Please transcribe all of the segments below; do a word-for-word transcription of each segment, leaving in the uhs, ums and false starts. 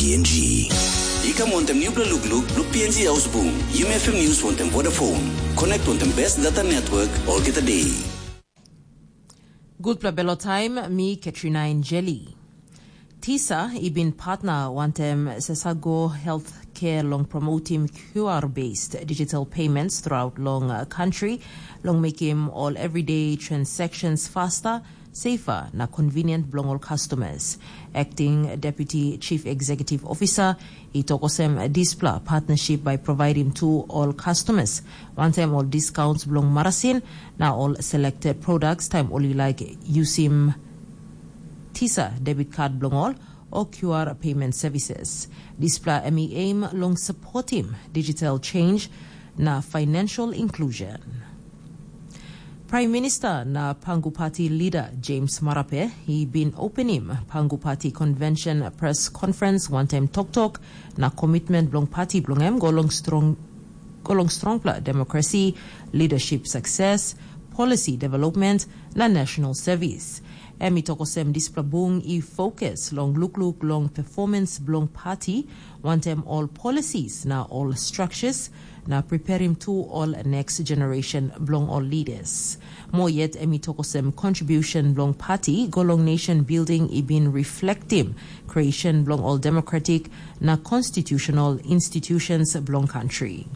P N G. I kam wantaim nupela lukluk bilong P N G Hausbung, Yumi F M News wantaim Vodafone. Connect wantaim best data network olgeta day. Gutpela belo taim, mi Katrina Injeli. Tisa i bin partner wantaim Sesago Healthcare long promotim Q R-based digital payments throughout long uh, country, long mekim all everyday transactions faster, safer na convenient bilong ol customers. Acting Deputy Chief Executive Officer i tok olsem dispela partnership by providing to all customers, wantaim all discounts bilong marasin na all selected products taim ol i like yusim Tisa debit card bilong ol o Q R payment services. Dispela em i aim long supportim digital change na financial inclusion. Prime Minister na Pangu Party leader James Marape, he been opening Pangu Party Convention press conference wantaim toktok na commitment bilong party bilong em go long strong go long strongpela democracy, leadership success, policy development, na national service. Em i tok olsem dispela bung i focus long lukluk long performance bilong party, wantaim all policies na all structures, na preparim tu all next generation bilong all leaders. Mo yet em i tok olsem contribution bilong party go long nation building i bin reflectim creation bilong all democratic na constitutional institutions bilong country.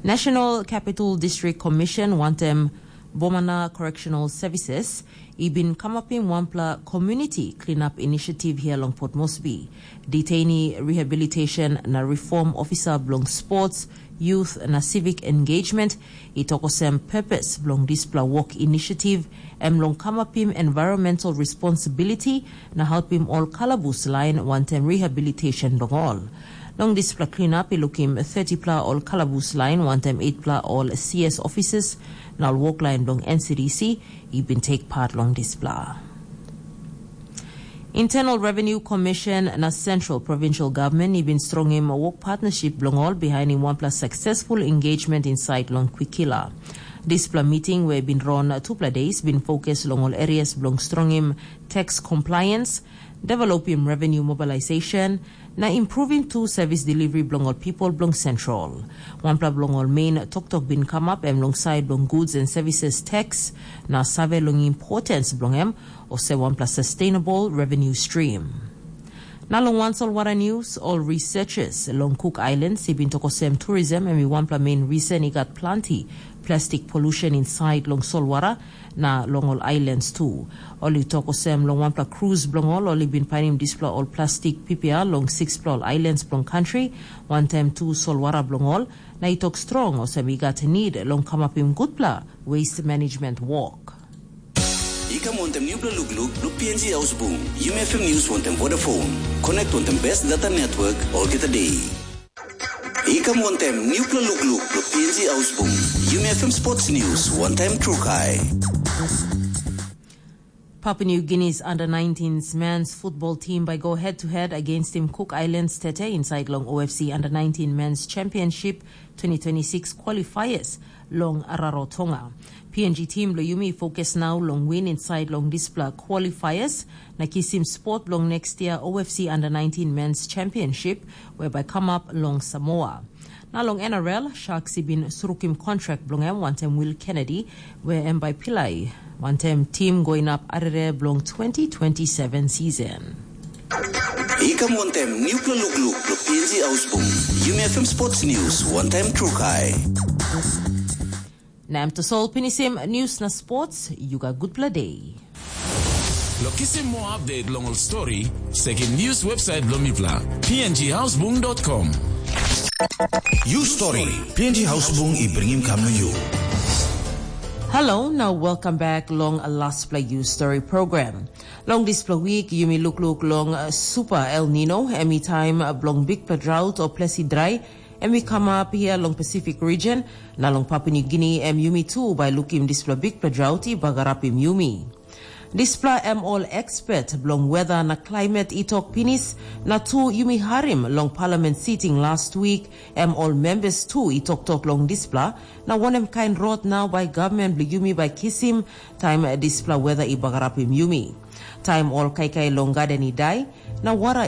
National Capital District Commission wantaim Bomana Correctional Services i bin kamapim wanpela community cleanup initiative here long Port Moresby. Detainee rehabilitation na reform officer bilong sports, youth na civic engagement i tok olsem purpose bilong dispela work initiative em long kamapim environmental responsibility na helpim ol kalabus lain wantaim rehabilitation bilong ol. Long dispela cleanup i lukim thirty-pela ol kalabus lain wantaim eight-pela ol C S offices na ol woklain bilong N C D C i bin take part long dispela. Internal Revenue Commission na Central Provincial Government i bin strongim work partnership bilong ol bihainim wanpela successful engagement inside long Kwikila. Dispela meeting we bin run tupela days bin focus long ol areas bilong strongim tax compliance, developim revenue mobilization, na improvim tu service delivery bilong ol people bilong Central. Wanpela bilong ol main toktok bin kamap em long side bilong goods and services tax, na save long importance bilong em olsem wanpela sustainable revenue stream. Na long wan solwara news, ol researchers long Cook Islands i bin tok olsem tourism em i wanpela main reason i gat planti plastic pollution inside long solwara na long ol islands tu. Ol i tok olsem long wanpela cruise bilong ol, ol i bin painim dispela ol plastik pipia long six-pela ol islands bilong country, wantaim tu solwara bilong ol, na i tok strong olsem i gat need long kamapim gutpela waste management work. I kam wantaim nupela lukluk bilong P N G Hausbung, Yumi F M News wantaim Vodafone. Connect wantaim best data network olgeta day. I kam wantaim nupela lukluk bilong P N G Hausbung, Yumi F M Sports News wantaim Trukai. Papua New Guinea's under nineteens men's football team by go head to head against Team Cook Islands Tete inside long O F C under nineteen men's championship twenty twenty-six qualifiers long Rarotonga. P N G team lo Yumi focus now long win inside long dispela qualifiers na kisim spot long next year O F C under nineteen men's championship whereby come up long Samoa. Na long N R L, Sharks i bin surukim kontrak bilong em wantaim Will Kennedy, where em bai pilai wantaim tim go inap arere bilong twenty twenty-seven season. I kam wantaim nupela lukluk lo P N G Ausbung, Yumi F M Sports News wantaim Trukai. Na em tasol pinisim news na sports, you got good play day. Lo kisim moa update long ol stori, sekim news website bilong mipela, P N G Hausbung dot com. You story, P N G Hausbung i bringim kam na you. Hello, now welcome back long a last play you story program. Long dispela week, yumi lukluk long uh, Super El Nino, em i taim uh, bilong bikpela drought o plesi drai, em i kamap hia long Pacific region, na long Papua New Guinea, em yumi tu bai lukim dispela bikpela drought i bagarapim yumi. Dispela em ol expert bilong weather na climate i tok pinis, na tu yumi harim long parliament sitting last week, em ol members tu i toktok long dispela, na wanem kain rot nau bai government bilong yumi bai kisim, taim dispela weather i bagarapim yumi. Taim ol kaikai long garden i dai, na wara